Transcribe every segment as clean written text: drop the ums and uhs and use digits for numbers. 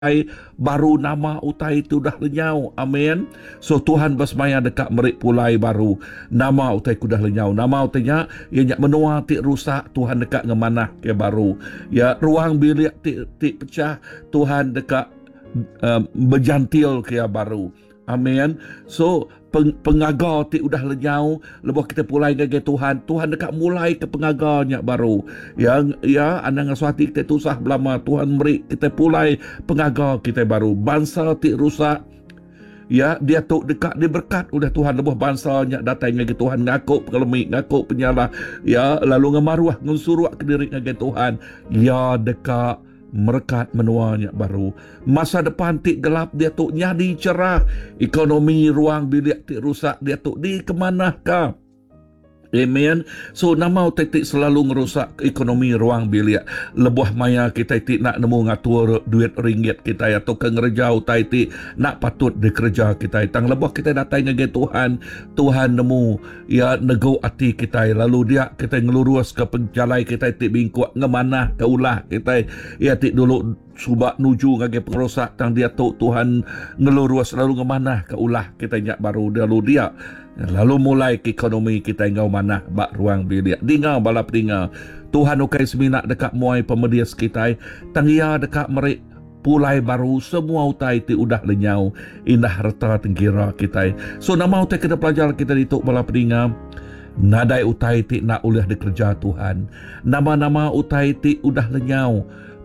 Ai baru nama utai ti udah lenyau. Amen. So Tuhan besemaya deka meri pulai baru nama utai ke udah lenyau. Nama utai nya? Iya nya menua ti rusak Tuhan deka ngemanahka baru. Ya ruang bilik ti ti pecah Tuhan deka uh, bejantilka iya baru. Amen. So, peng, pengaga ti udah lenyau lebuh kita pulai ngagai Tuhan, Tuhan deka mulai ke pengaga nya baru. Ya, ya anang ngasuh ati kita tusah belama. Tuhan meri kita pulai pengaga kita baru. Bansa ti rusak ya diatu deka diberkat oleh Tuhan lebuh bansa nya datai ngagai Tuhan ngaku pengelemi, ngaku penyalah, ya lalu ngemaruh ngensuruk ke diri ngagai Tuhan, ya deka Merekat menua nya baru. Masa depan ti gelap diatu nyadi cerah. Ekonomi ruang bilik ti rusak diatu dikemanahka. Amen. So nama utai ti selalu ngerusak ekonomi ruang bilik lebuh maya kitai ti enda nemu ngatur duit ringgit kitai atauka ngereja utai ti enda patut dikereja kitai. Tang lebuh kitai datai ngagai Tuhan, Tuhan nemu Iya negu ati kitai lalu dia kitai ngeluruska pejalai kitai ti bingkuk ngemanahka ulah kitai iya ti dulu suba nuju ngagai pengerusak tang diatu Tuhan ngelurus lalu ngemanahka ulah kitai nya baru lalu dia lalu mulai ke ekonomi kitai enggau manah ba ruang bilik. Dinga bala peninga, Tuhan ukai semina deka muai pemedis kitai tang Iya deka meri Pulai baru semua utai ti udah lenyau indah reta tengkira kitai. So nama utai kena pelajar kitai ditu bala peninga? Nadai utai ti enda ulih dikereja Tuhan. Nama-nama utai ti udah lenyau,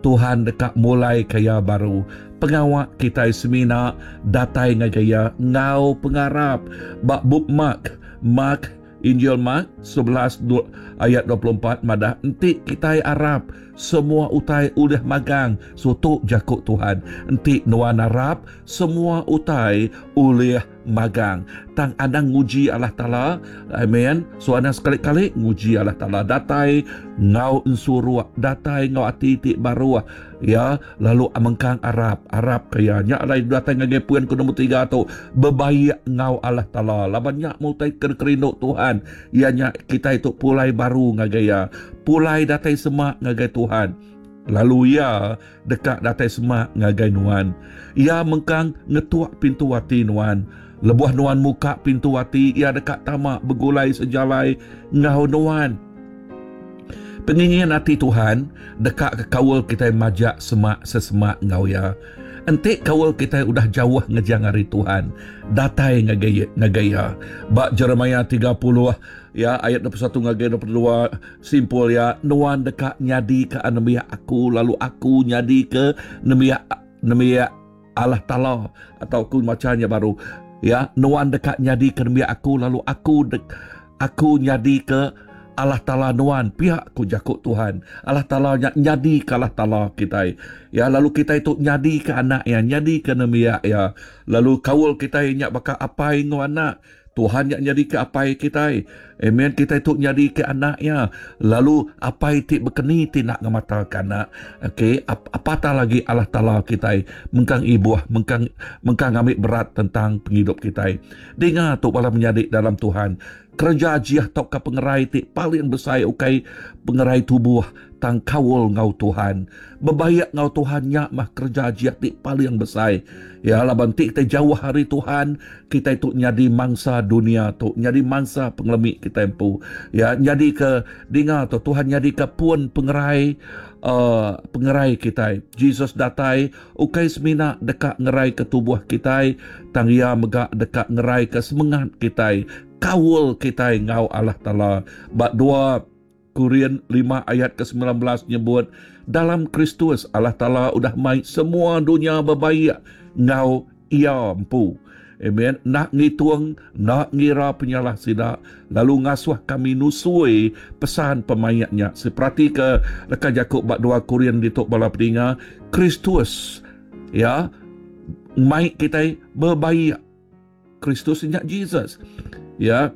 Tuhan deka mulaika iya baru. Pengawa kitai semina datai ngagai Iya enggau pengarap. Ba bup Mark, Mark, Injil Mark 11 ayat 24 madah enti kitai arap semua utai ulih magang sutu jaku Tuhan. Enti nuan arap semua utai ulih magang. Tang anang nguji Allah Taala. Amen. So anang sekali-kali nguji Allah Taala. Datai enggau ensuruk, datai enggau ati ti baruh. Ya, lalu mengkang arap, arap ke iya. Nya alai datai ngagai poin ke nombor 3 tu, bebaik enggau Allah Taala. Laban nya meh utai ke dikerindu Tuhan, iya nya kitai tu pulai baru ngagai Iya, pulai datai semak ngagai Tuhan. Lalu Iya deka datai semak ngagai nuan. Iya mengkang ngetuk pintu ati nuan. Lebuh nuan muka pintu ati, Iya deka tama begulai sejalai enggau nuan. Pengingin ati Tuhan deka ke kaul kitai majak semak sesemak enggau Iya. Enti kaul kitai udah jauh ngejang ari Tuhan, datai ngagai ngagai Iya. Ba Jeremiah 30 ya ayat 21 ngagai 22 simpul iya, Nuan deka nyadika nembiak aku lalu aku nyadika nembiak nembiak Allah Taala atau aku macha nya baru ya nuan deka nyadi ke nembiak aku lalu aku dek, aku nyadi ke Allah Taala nuan pia ku jaku Tuhan Allah Taala nya nyadi ke Allah Taala kitai ya lalu kitai tu nyadi ke anak iya nyadi ke nembiak iya lalu kaul kitai nya baka apai enggau anak Tuhan nya nyadika apai kitai. Amen. Kitai tu nyadika anak iya. Lalu apai ti bekeni ti enda ngemataka anak. Okey, apatah lagi Allah Taala kitai mengkang ibuh, mengkang mengkang ngambi berat tentang pengidup kitai. Dinga tu bala menyadi dalam Tuhan. Kereja ajih tauka pengerai ti paling besai ukai pengerai tubuh tang kaul enggau Tuhan. Bebaik enggau Tuhan nya mah kereja ajih ti paling besai. Ya laban ti kitai jauh ari Tuhan, kitai tu nyadi mangsa dunia tu, nyadi mangsa pengelemi kitai empu. Ya nyadi ke dinga tu Tuhan nyadi ke pun pengerai uh, pengerai kitai. Jesus datai ukai semina deka ngerai ke tubuh kitai, tang iya mega deka ngerai ke semengat kitai, kaul kitai enggau Allah Taala. Ba dua Korin 5 ayat ke-19 nyebut, Dalam Kristus, Allah Taala udah mai semua dunya bebaik enggau Iya empu. Amen. Enda ngitung, enda ngira penyalah sida, lalu ngasuh kami nusui pesan pemaik nya. Seperatika leka jaku ba 2 Korin ditu bala peninga, Kristus ya mai kitai bebaik. Kristus nya Jesus. Ya.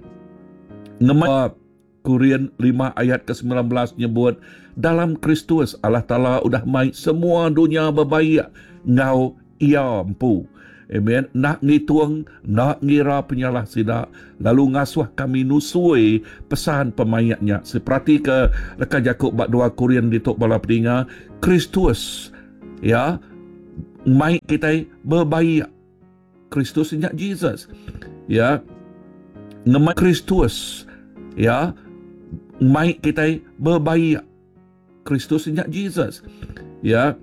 Ngema Korin 5 ayat ke-19 nyebut, Dalam Kristus, Allah Taala udah mai semua dunya bebaik enggau Iya empu. Amen. Enda ngitung, enda ngira penyalah sida, lalu ngasuh kami nusui pesan pemaik nya. Seperatika leka jaku ba 2 Korin ditu bala peninga, Kristus, ya, Mai kitai bebaik. Kristus nya Jesus. Ya. Ngemai Kristus. Ya. Mai kitai bebaik. Kristus nya Jesus. Ya.